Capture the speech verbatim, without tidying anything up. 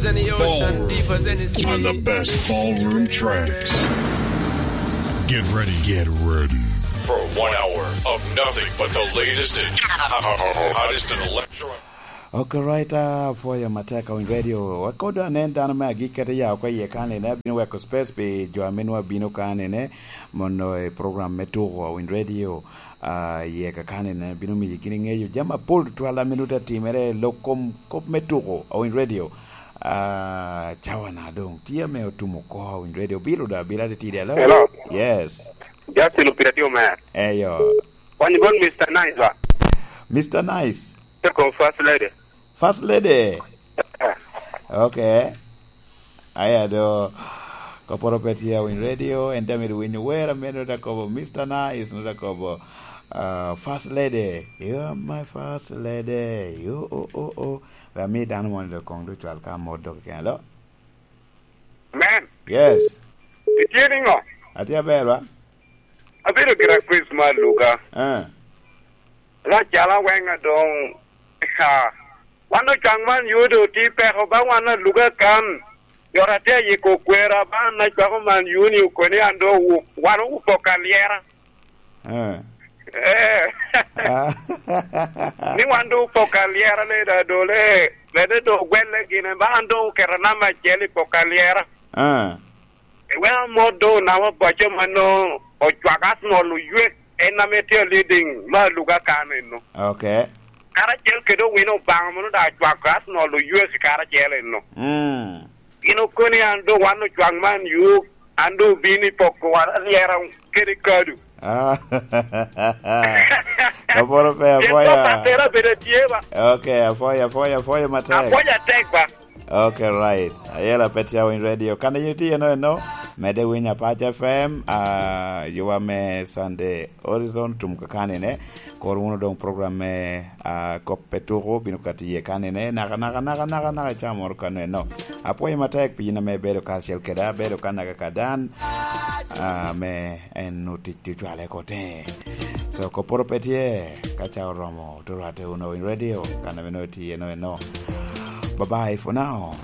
Ballroom. On the best ballroom tracks. Get ready, get ready for one hour of nothing but the latest and hottest in electro. Okay, right, uh, for your Mateka Win Radio. Wakodo anen dano me agik kete ya oko iye kanene, abino weko space pi jo ame nwa bino kanene, mono i program me tuko Win Radio. Ah, iye kakani ne bino miyo gini ŋeyo jami apol tutwal a minut atimere i lok kom kop me tuko, Awiny Radio. Ah, cawa na doŋ tye ame otumo oko, Awiny Radio. Biro da, bila titidi, hello? Hello. Yes. Justin Opira tye omer. Eyo. Wan ibon Mister Nice ba? Mister Nice. Te kom First Lady. First Lady. Eh. Okay. Aya do, koporo pe tye Awiny Radio, en te mito winyo wer a meno da kobo Mister Nice, no da kobo, uh, First Lady. You are my First Lady. You, oh, oh, oh. Pe ami dano moni do kong do cwal ka mot dok kene lo. Man. Yes. Itye niŋo? Atye aber, wa? Abedo gira Chris ma Luga. Eh. Lacala weŋ adoŋ, ha, wan ocwaŋ man yudo ti peko ba wan aluga kan. Yot atye ayiko kwera ba an acwako man yuni okoni an do wu-, wan owupo ka lyera. Eh. Eh. Ah. Ni wan do wupo ka lyera le da dole, lede do gwelle gine ba an do oketo namba acel i po ka lyera. Ah. Eweko mot doŋ onamo boco ma nwoŋo ocwak Arsenal oywe, en ame tye leading me aluga kan eno. Okay. Karacel kede owino Obaŋa mono daŋ ocwak Arsenal oywe karacel eno. Mm. Gin okoni an doŋ wan ocwak man yuk, an doŋ obino i poko wan alyera kede kadu. Ah. Kaporo pe, pien apwoyo. Kop atera bedo tye ba. Okay, apwoyo, apwoyo, apwoyo matek. Apwoyo atek ba. Okay, right. Ayela Petia Winy Radio. Kan yin itye eno eno, mede winyo Apac F M, ah, yuwa me Sunday Horizon tum kakani ne. Kor wunu doŋ program me, ah, kop pe tuko, bino kati iye kani ne. Naka, naka, naka, naka, naka, ca moro kano eno. Apwoyo matek pi yin ame ibedo karacel keda, abedo kan naka kadan, ah, me en otic ocwale kote. So, koporo pe tye, ka ca oromo, to rwate wunu Winy Radio, kan ame nongo itye eno eno. Bye bye for now.